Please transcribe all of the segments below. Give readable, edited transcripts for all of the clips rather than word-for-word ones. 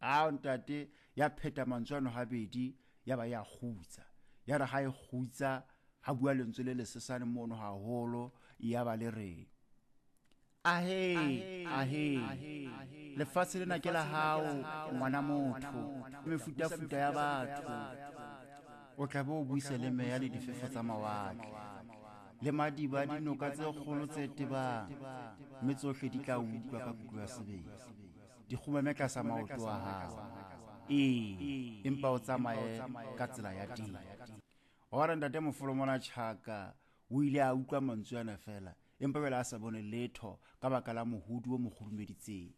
Ao ntate, ya pheta mantswe ano habedi, ya ba ya kgutsa. Ya re ha e kgutsa, ha bua lentswe le lesesane mono haholo, ya ba le re, Ahe, ahe, lefatshe lena ke la hao, ngwana motho, mefutafuta ya batho. O tla be o buise le meya le difefo tsa mawatle, le madiba a dinoka tse kgolo tse tebang, mme tsohle di tla utlwa ka kutlo ya sebele, di kgumame tlasa maoto a hao. Ee, empa o tsamaye ka tsela ya teng. Wa re ntate Mofolo mona Tjhaka o ile a utlwa mantswe ana feela, empa jwale a sa bone letho ka baka la mohodi o mo kgurumeditseng.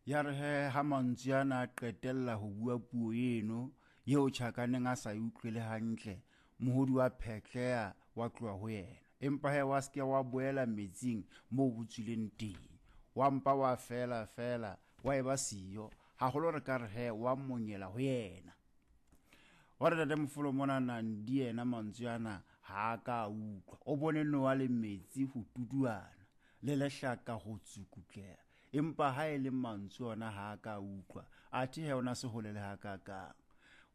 Ya re he ha mantswe ana a qetella ho bua puo eno eo Tjhaka neng a sa e utlwele hantle, mohodi wa phetleha wa tloha ho yena. Empa he wa se ke wa boela metsing moo bo tswileng teng. Wa mpa wa fela fela wa eba siyo, haholo re ka re he wa monyela ho yena. Wa re tate Mofolo mona Nandi yena mantswe ana ha a ka a utlwa. O bone noa le metsi ho tuduana, le lehlaka ho tsukutleha. Empa ha e le mantswe ona ha a ka a utlwa, athe he o na se hole le hakakang.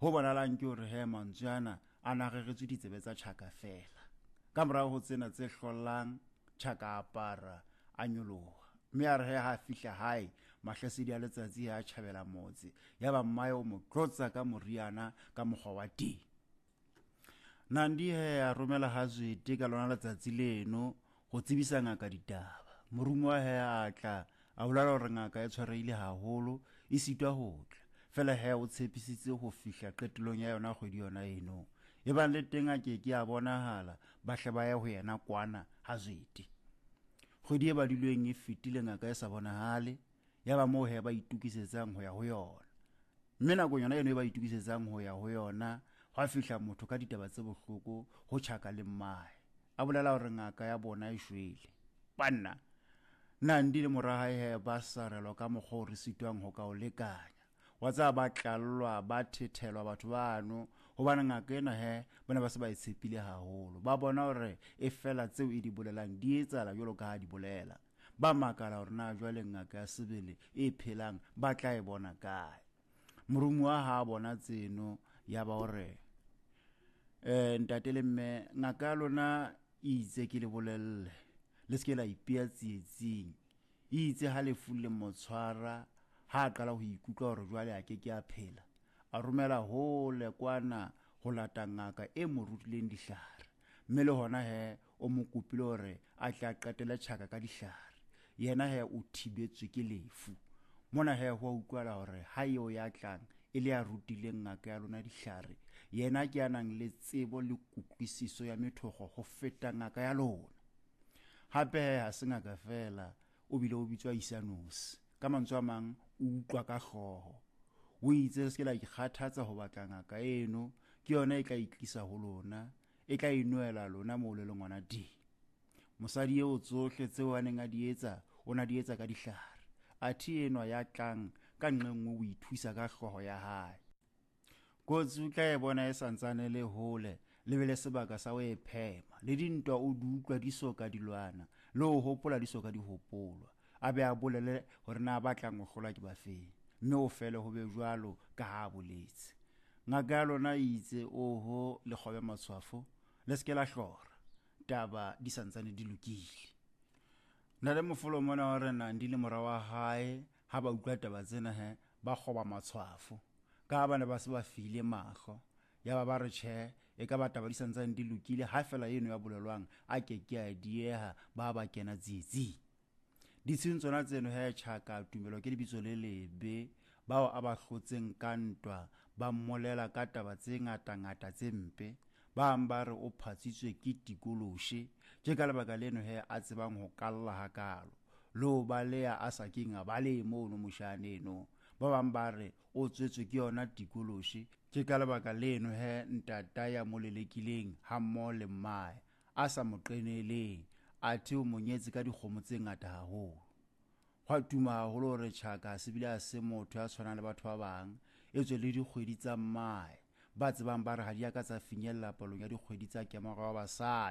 Ho bonalang ke hore he mantswe ana a na reretswe ditsebe tsa Tjhaka feela. Ka morao ho tsena tse hlollang, Tjhaka a apara, a nyoloha. Mme a re he ha a fihla hae, mahlasedi a letsatsi a tjhabela motse. Yaba mmae o mo tlotsa ka moriana ka mokgwa wa teng. Nandi he a romela ha Zwete ka lona letsatsi leno ho tsebisa ngaka ditaba. Moromuwa he a tla, a bolela hore ngaka e tshwarehile haholo, e sitwa ho tla. Fela he o tshepisitse ho fihla qetellong ya yona kgwedi yona eno. Ebang le teng a ke ke a bonahala, ba hle ba ye ho yena kwana ha Zwete. Kgwedi e badilweng e fetile ngaka e sa bonahale, ya ba moo he ba itokisetsang ho ya ho yona. Mme nakong yona eno e ba itokisetsang ho ya ho yona, hwa fihla motho ka ditaba tse bohloko ho Tjhaka le mmae. A bolela hore ngaka ya bona e shwele. Banna! Nandi le mora hae he ba sarelwa ka mokgwa o re sitwang ho ka o lekanya. Wa tseba ba tlallwa, ba thethelwa batho bano, hobane ngaka ena he ba ne ba se ba e tshepile haholo. Ba bona hore e fela tseo e di bolelang di etsahala jwalo ka ha di bolela. Ba makala hore na jwale ngaka ya sebele e phelang ba tla e bona kae. Moromuwa ha a bona tseno ya ba hore ntate le mme ngaka ya lona e itse ke le bolelle le se ke la ipea tsietsing. E itse ha lefu le mo tshwara ha a qala ho ikutlwa hore jwale a ke ke a phela, a romela hole kwana ho lata ngaka e mo rutileng dihlare. Mme le hona he o mo kopile hore a tle a qetele tjhaka ka dihlare. Yena he o thibetswe ke lefu. Mona he ho a utlwala hore ha eo ya tlang e le ya rutileng ngaka ya lona dihlare, yena ke ya nang le tsebo le kutlwisiso ya methokgo ho feta ngaka ya lona. Hape he ha se ngaka feela, o bile o bitswa Isanosi. Ka mantswe a mang, o utlwa ka hlooho. O itse le se ke la ikgathatsa ho batla ngaka eno, ke yona e tla itlisa ho lona, e tla inwela lona moo le leng hona teng. Mosadi eo tsohle tseo a neng a di etsa, o na di etsa ka dihlare. Athe enwa ya tlang ka nqe nngwe o ithusa ka hlooho ya hae. Kotsi o tla e bona e sa ntsane le hole, le be le sebaka sa ho e phema. Le dintwa o di utlwa di so ka di lwana, le ho hopola di so ka di hopolwa. A be a bolele hore na ba tlang ho hlolwa ke ba feng, mme o fele ho be jwalo ka ha a boletse. Ngaka ya lona e itse, Oho, le kgobe matshwafo, le se ke la hlora, taba di sa ntsane di lokile. Na le mofolo mona wa re Nandi le mora wa hae ha ba utlwa taba tsena he ba kgoba matshwafo, ka ha ba ne ba se ba file mahlo. Ya ba ba re tjhe, e ka ba taba di sa ntsane di lokile, ha fela eno ya bolelwang a ke ke a dieha, ba ba kena tsietsing. Ditsheng tsona tseno he Tjhaka Tumelo ke lebitso le lebe, bao a ba hlotseng ka ntwa ba mmolela ka taba tse ngata-ngata tse mpe. Ba bang ba re o phatsitswe ke tikoloshe, ke ka lebaka leno he a tsebang ho kalla hakalo, le ho baleha a sa keng a balehe mono moshane eno. Ba bang ba re o tswetswe ke yona tikoloshe, ke ka lebaka leno he ntata ya mo lelekileng hammoho le mmae a sa mo qeneleng, athe o mo nyetse ka dikgomo tse ngata haholo. Hwa tuma haholo hore Tjhaka se bile a se motho ya tshwanang le batho ba bang, etswe le dikgwedi tsa mmae ba tsebang ba re ha di a ka tsa finyella palong ya dikgwedi tsa kemaro ya basadi.